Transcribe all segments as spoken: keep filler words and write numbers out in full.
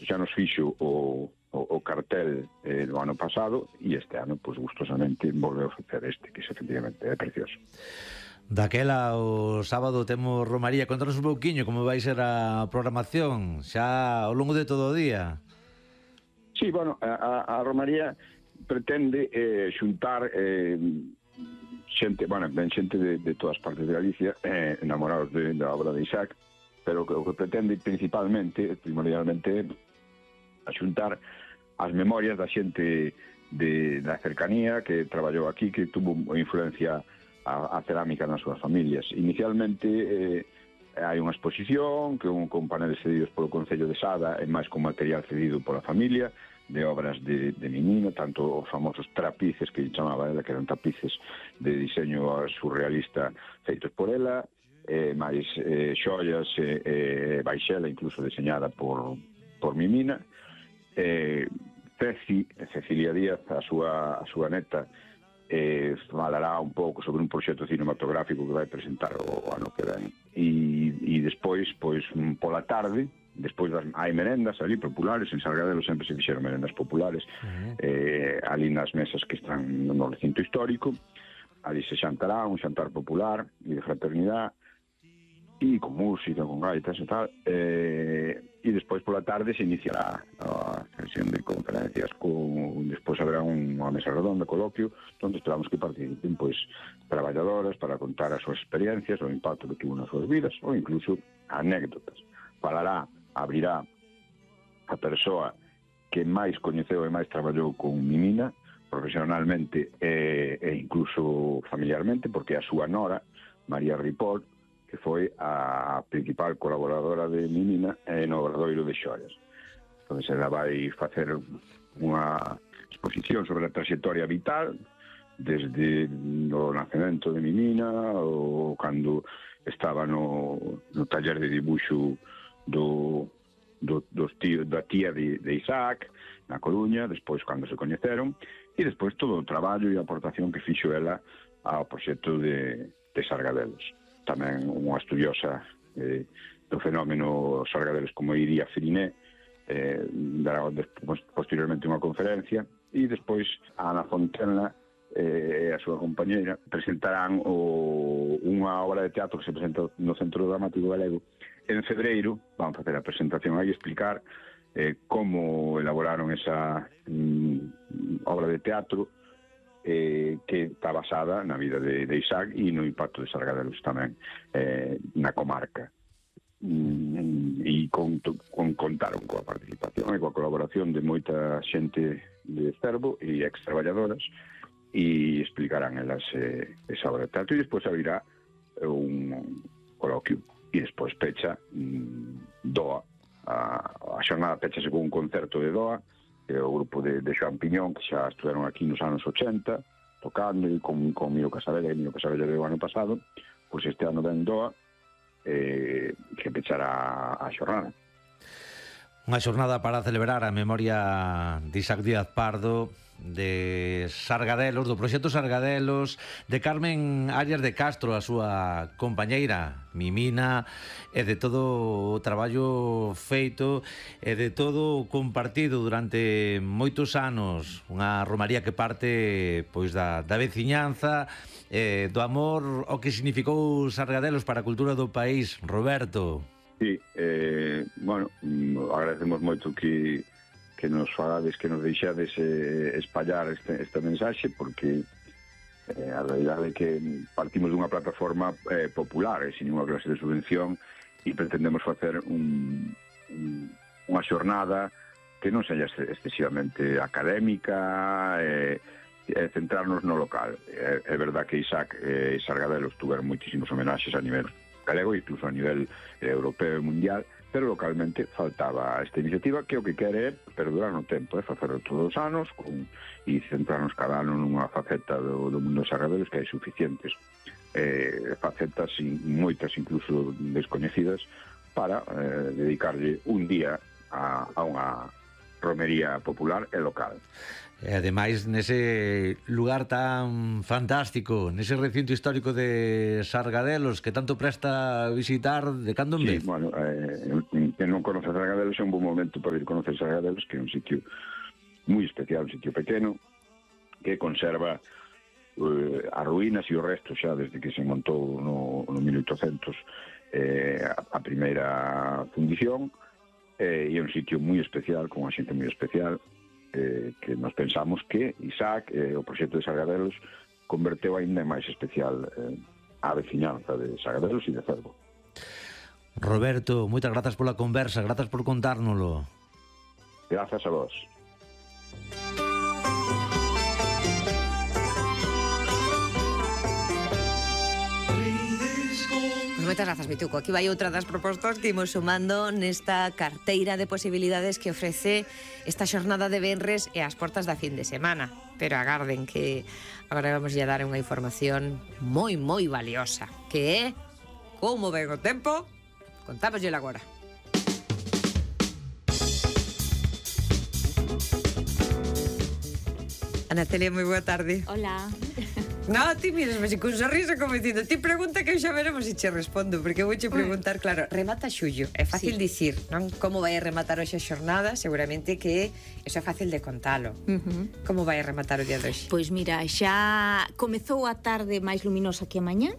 xa nos fixo o, o, o cartel eh, do ano pasado, e este ano, pois, gustosamente volveu a facer este, que efectivamente é precioso. Daquela, o sábado temos Romaría. Contanos un pouquiño como vai ser a programación xa ao longo de todo o día. Sí, bueno, a, a Romaría pretende eh, xuntar eh, xente, bueno, ben xente de, de todas partes de Galicia, eh, enamorados de, da obra de Isaac, pero que, o que pretende principalmente, primordialmente, a xuntar as memorias da xente de, da cercanía que traballou aquí, que tuvo influencia a, a cerámica nas súas familias. Inicialmente eh, hai unha exposición que un, con paneles cedidos polo Concello de Sada e máis con material cedido pola familia, de obras de, de Mimina, tanto os famosos trapices que chamaba ela, que eran tapices de diseño surrealista feitos por ela, eh, máis eh, xoias, eh, eh, baixela incluso deseñada por, por Mimina. eh, Ceci, Cecilia Díaz, a súa, a súa neta, eh, falará un pouco sobre un proxecto cinematográfico que vai presentar o, o ano que ven. E, e despois, pois, pola tarde, despois das, hai merendas ali populares, en Sargadelo sempre se fixeron merendas populares, uh-huh. eh, ali nas mesas que están no recinto histórico, ali se xantará un xantar popular e de fraternidade, e con música, con gaitas e tal, eh, e despois pola tarde se iniciará a sesión de conferencias, con, despois haberá unha mesa redonda, coloquio, onde esperamos que participen pois traballadoras para contar as súas experiencias, o impacto que tuvo nas súas vidas, ou incluso anécdotas. Falará, abrirá a persoa que máis coñeceu e máis traballou con Mimina, profesionalmente e, e incluso familiarmente, porque a súa nora, María Ripoll, que foi a principal colaboradora de Mimina no Obradoiro de Xoias. Entón, ela vai facer unha exposición sobre a trayectoria vital desde o nacemento de Mimina, ou cando estaba no, no taller de dibuixo do, do, dos tío, da tía de, de Isaac, na Coruña, despois cando se coñeceron, e despois todo o traballo e a aportación que fixo ela ao proxecto de, de Sargadelos. Tamén unha estudiosa eh, do fenómeno Sargadelos como Iria Firiné, eh, dará despois, posteriormente unha conferencia, e despois a Ana Fontena e eh, a súa compañeira presentarán o, unha obra de teatro que se presenta no Centro Dramático Galego en febreiro. Van facer a presentación aí, explicar eh, como elaboraron esa mm, obra de teatro, Eh, que está basada na vida de, de Isaac e no impacto de Sargadelos tamén eh, na comarca, mm, e con, con, contaron coa participación e coa colaboración de moita xente de Cervo e ex-traballadoras, e explicarán elas eh, esa obra de teatro, e despois abrirá un coloquio e despois pecha mm, Doa. A, a xornada pechase con un concerto de Doa, que é o grupo de, de Xoan Piñón, que xa estuveron aquí nos anos ochenta tocando, e con, con Miro Casabella, e Miro Casabella do ano pasado, pois este ano ven Doa, eh, que pechará a xornada. Unha xornada para celebrar a memoria de Isaac Díaz Pardo, de Sargadelos, do proxecto Sargadelos, de Carmen Arias de Castro, a súa compañeira Mimina, e de todo o traballo feito e de todo o compartido durante moitos anos. Unha romaría que parte pois da, da veciñanza, eh, do amor o que significou Sargadelos para a cultura do país. Roberto. Sí, eh, bueno, agradecemos moito que que nos falades, que nos deixades eh, espallar este, esta mensaxe, porque eh, a realidade é que partimos dunha plataforma eh, popular, e sin unha clase de subvención, e pretendemos facer un, un, unha xornada que non seja excesivamente académica, e eh, centrarnos no local. É, é verdad que Isaac e eh, Sargadelos tuveron moitísimos homenaxes a nivel galego, incluso a nivel eh, europeo e mundial, pero localmente faltaba esta iniciativa, que o que quere é perdurar no tempo, é facerlo todos os anos con, e centrarnos cada ano nunha faceta do, do mundo de Sargadelos, que hai suficientes eh, facetas, e moitas incluso descoñecidas, para eh, dedicarlle un día a, a unha romería popular e local. E ademais nese lugar tan fantástico, nese recinto histórico de Sargadelos, que tanto presta visitar de cando en vez. Sí, bueno, eh, que non conoce Sargadelos é un bom momento para ir conocer Sargadelos, que é un sitio moi especial, un sitio pequeno, que conserva eh, as ruínas e o resto xa desde que se montou no, no mil oitocentos eh, a, a primeira fundición, eh, e é un sitio moi especial, con unha xente moi especial, eh, que nos pensamos que Isaac, eh, o proxecto de Sargadelos, converteu ainda máis especial eh, a veciñanza de Sargadelos e de Cervo. Roberto, moitas grazas pola conversa, grazas por contárnoslo. Grazas a vos. Moitas grazas, Mituco. Aquí vai outra das propostas que imos sumando nesta carteira de posibilidades que ofrece esta xornada de venres e as portas da fin de semana. Pero agarden que agora vamos a dar unha información moi, moi valiosa, que é como ven o tempo. Contámoslle agora. Ana Celia, moi boa tarde. Hola. No, ti miras, mas con sorriso como dicindo, ti pregunta que xa veremos se che respondo, porque vou che preguntar, claro, remata xullo, é fácil sí. dicir, non? Como vai a rematar hoxe a xornada? Seguramente que eso é fácil de contalo. Uh-huh. Como vai a rematar o día de hoxe? Pois mira, xa comezou a tarde máis luminosa que a mañá,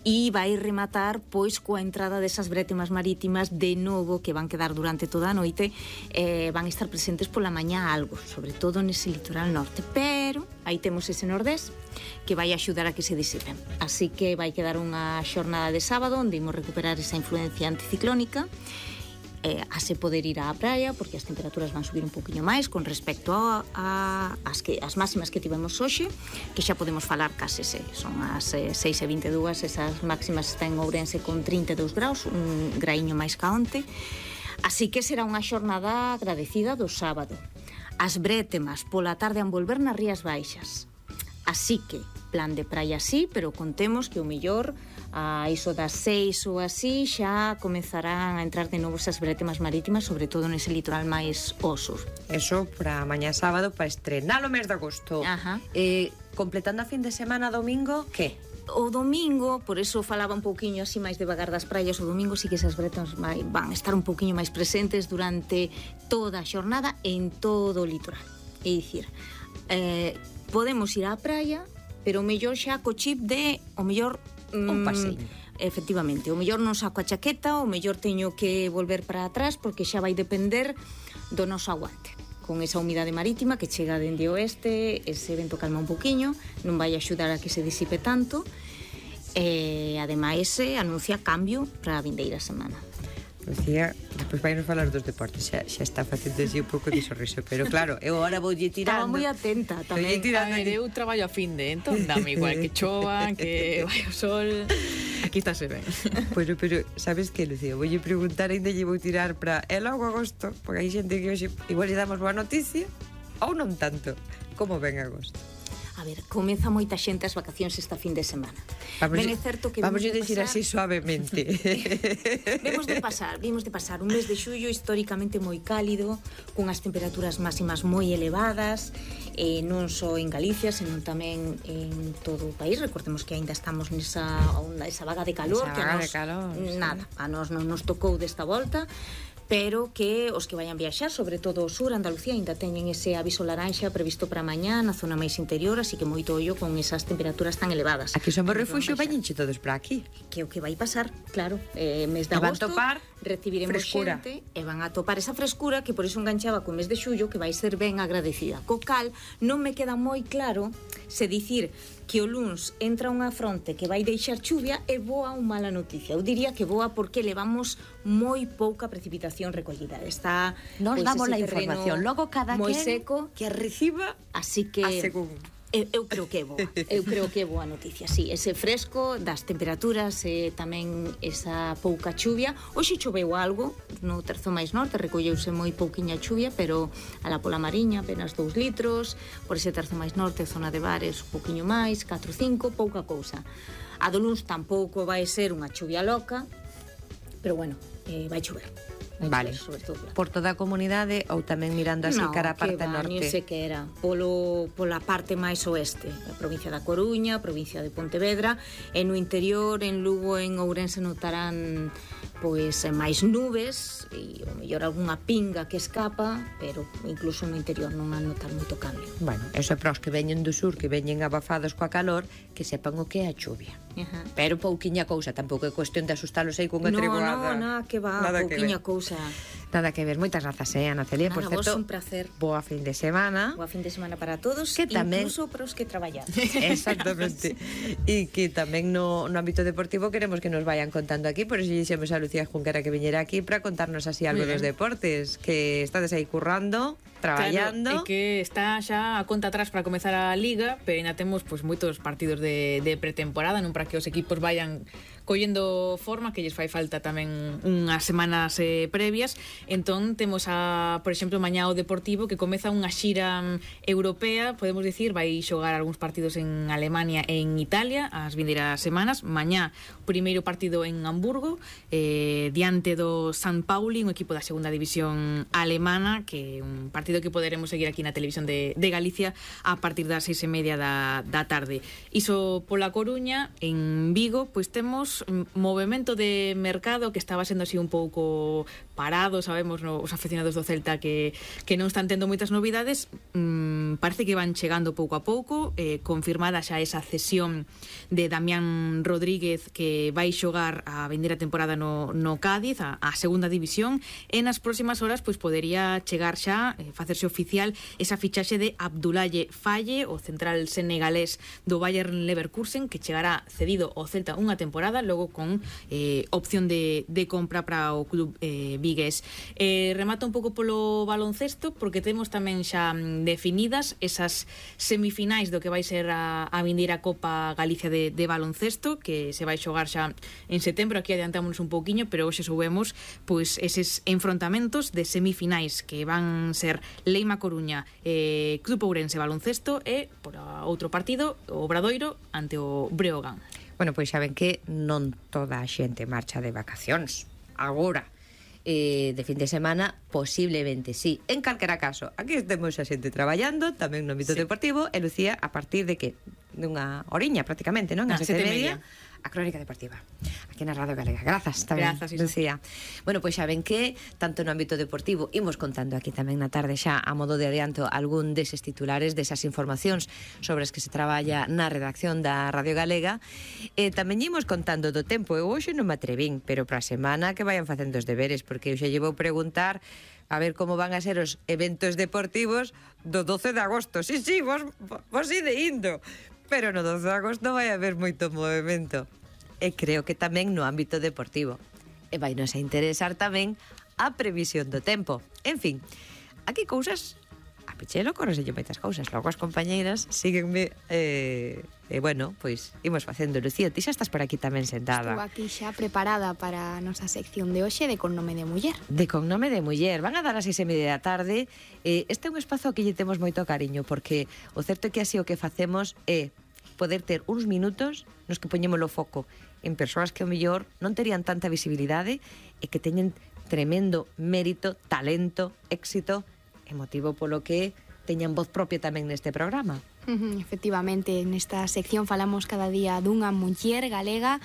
e vai rematar pois coa entrada desas brétemas marítimas de novo que van quedar durante toda a noite, eh, van estar presentes pola mañá algo, sobre todo nese litoral norte, pero aí temos ese nordés que vai axudar a que se disipen, así que vai quedar unha xornada de sábado onde imos recuperar esa influencia anticiclónica, eh, a se poder ir á praia porque as temperaturas van subir un poquinho máis con respecto a, a as, que, as máximas que tivemos hoxe, que xa podemos falar case se, son as eh, seis e vinte e dúas, esas máximas están en Ourense con trinta e dous graus, un graíño máis ca onte, así que será unha xornada agradecida do sábado. As brétemas pola tarde han volver nas Rías Baixas, así que plan de praia sí, pero contemos que o mellor a iso das seis ou así xa comezarán a entrar de novo esas brétemas marítimas, sobre todo nese litoral máis ao sur. Eso para mañá sábado, para estrenar o mes de agosto. Ajá. Eh, completando a fin de semana, domingo, que? O domingo, por eso falaba un pouquiño así máis devagar das praias, o domingo sí que esas brétemas van a estar un pouquiño máis presentes durante toda a xornada en todo o litoral. É dicir, eh, podemos ir á praia, pero o mellor xa co chip de o mellor un paseo. Efectivamente, o mellor non saco a chaqueta, o mellor teño que volver para atrás porque xa vai depender do noso aguante. Con esa humidade marítima que chega dende o oeste, ese vento calma un poquinho, non vai axudar a que se disipe tanto, e ademais se anuncia cambio para a vindeira semana. Lucía, despois vai nos falar dos deportes, xa, xa está facendo así un pouco de sorriso, pero claro, eu agora vou lle tirando. Estaba moi atenta tamén. A ver, eu traballo a fin de, entón dame igual que chova, que vai o sol, aquí está se ben. Bueno, pero sabes que, Lucía, vou lle preguntar, ainda lle vou tirar para e logo agosto, porque hai xente que hoxe igual lle damos boa noticia, ou non tanto. Como ven agosto? A ver, comeza moita xente as vacacións esta fin de semana. Vamos, ben é certo que vamos a de decir pasar, así suavemente. Vemos de pasar, vimos de pasar un mes de xullo históricamente moi cálido, cunhas temperaturas máximas moi elevadas, eh, non só en Galicia, senón tamén en todo o país. Recordemos que aínda estamos nesa onda, esa vaga de calor, esa que vaga a nos, de calor, nada, sí. a nos non nos tocou desta volta, pero que os que vayan viaxar, sobre todo o sur, Andalucía, ainda teñen ese aviso laranxa previsto para mañá na zona máis interior, así que moito ollo con esas temperaturas tan elevadas. Aquí somos refuxio, vañenche todos para aquí. Que é o que vai pasar, claro, eh, mes de e van agosto topar recibiremos frescura. Xente e van a topar esa frescura que por iso enganchaba co mes de xullo, que vai ser ben agradecida. Co cal, non me queda moi claro se dicir que o luns entra unha fronte que vai deixar chuvia é boa ou mala noticia. Eu diría que boa porque levamos moi pouca precipitación recollida. Está nos pois, damos la información, logo cada moi quen seco, que a reciba, así que a según. Eu, eu creo que é boa, eu creo que é boa noticia, sí, ese fresco das temperaturas e tamén esa pouca chuvia. Hoxe choveu algo no terzo máis norte, recolleuse moi pouquiña chuvia, pero alá pola Mariña apenas dous litros, por ese terzo máis norte, zona de Bares, un pouquiño máis, catro, cinco, pouca cousa. A do luns tampouco vai ser unha chuvia loca, pero bueno, eh, vai chover. Vale, por toda a comunidade ou tamén mirando así no, cara a parte va, norte? Non sei que era, polo, pola parte máis oeste, a provincia da Coruña, a provincia de Pontevedra, e no interior, en Lugo, en Ourense notarán pois máis nubes e o mellor algunha pinga que escapa, pero incluso no interior non van notar moito cambio. Bueno, eso é para os que veñen do sur, que veñen abafados coa calor, que sepan o que é a chuvia. Ajá. Pero pouquiña cousa, tampouco é cuestión de asustalos aí cunha No, triguada. no, no, que va, Nada que pouquiña ver. cousa. Nada que ver. Moitas grazas, eh, Ana Celia. Por Nada, vos certo, un placer. boa fin de semana. Boa fin de semana para todos, Que tamén- incluso para os que traballan. Exactamente. E que tamén no, no ámbito deportivo queremos que nos vayan contando aquí. Por iso dixemos a Lucía Junquera que viñera aquí para contarnos así algo Muy dos bien. deportes. Que estades aí currando, traballando. Claro, é que está xa a conta atrás para comezar a Liga, pero ainda temos pois, moitos partidos de, de pretemporada, non para que os equipos vayan collendo forma, que lles fai falta tamén unhas semanas eh, previas. Entón temos a, por exemplo, mañá o Deportivo que comeza unha xira mm, europea, podemos dicir, vai xogar algúns partidos en Alemania e en Italia as vindeiras semanas. Mañá o primeiro partido en Hamburgo, eh, diante do San Pauli, un equipo da segunda división alemana, que é un partido que poderemos seguir aquí na televisión de, de Galicia a partir das seis e media da, da tarde. Iso pola Coruña. En Vigo, pois temos movimento de mercado que estaba sendo así un pouco parado, sabemos, no, os aficionados do Celta que, que non están tendo moitas novidades. mm, parece que van chegando pouco a pouco, eh, confirmada xa esa cesión de Damián Rodríguez, que vai xogar a vindeira temporada no, no Cádiz, a, a segunda división, e nas próximas horas pois podería chegar xa, eh, facerse oficial esa fichaxe de Abdoulaye Faye, o central senegalés do Bayern Leverkusen, que chegará cedido ao Celta unha temporada, logo con eh, opción de, de compra para o club eh, vigués. Eh, remata un pouco polo baloncesto, porque temos tamén xa mm, definidas esas semifinais do que vai ser a, a vindeira Copa Galicia de, de baloncesto, que se vai xogar xa en setembro. Aquí adiantámonos un pouquiño, pero hoxe soubemos pois eses enfrontamentos de semifinais que van ser Leima Coruña, eh, Club Ourense Baloncesto e, por outro partido, o Obradoiro ante o Breogán. Bueno, pois xa ven que non toda a xente marcha de vacacións. Agora, eh, de fin de semana, posiblemente sí. En calquera caso, aquí estemos a xente traballando, tamén no ámbito Sí. deportivo, e Lucía, a partir de que? Dunha oriña prácticamente, non? Ah, A sete sete e e media, media. a Crónica Deportiva, aquí na Radio Galega. Grazas tamén, Grazas, Isa. Lucía. Bueno, pois xa ven que, tanto no ámbito deportivo, imos contando aquí tamén na tarde xa, a modo de adianto, algún deses titulares, desas informacións sobre as que se traballa na redacción da Radio Galega. E tamén imos contando do tempo. Eu hoxe non me atrevín, pero para a semana que vayan facendo os deberes, porque eu xa llevo preguntar a ver como van a ser os eventos deportivos do doce de agosto. Sí, sí, vos, vos ide indo. Pero no doce de agosto vai haber moito movimento. E creo que tamén no ámbito deportivo. E vai nos a interesar tamén a previsión do tempo. En fin, aquí cousas... A Pichelo correselle moitas cousas. Logo as compañeiras síguenme... Eh, e bueno, pois imos facendo. Lucía, ti xa estás por aquí tamén sentada. Estou aquí xa preparada para a nosa sección de hoxe de Con nome de muller. De Con nome de muller. Van a dar as seis e media da tarde. Eh, este é un espazo que lle temos moito cariño, porque o certo é que así o que facemos é poder ter uns minutos nos que poñemos o foco en persoas que o mellor non terían tanta visibilidade e que teñen tremendo mérito, talento, éxito e motivo polo que teñan voz propia tamén neste programa. Ujú, efectivamente, nesta sección falamos cada día dunha muller galega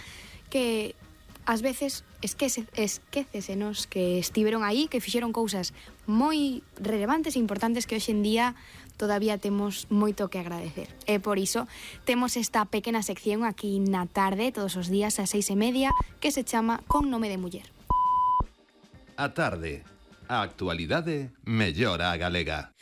que ás veces esquece, esquécesenos que estiveron aí, que fixeron cousas moi relevantes e importantes que hoxe en día todavía temos moito que agradecer. E por iso temos esta pequena sección aquí na tarde, todos os días ás seis e media, que se chama Con nome de muller. A tarde, a actualidade mellora a galega.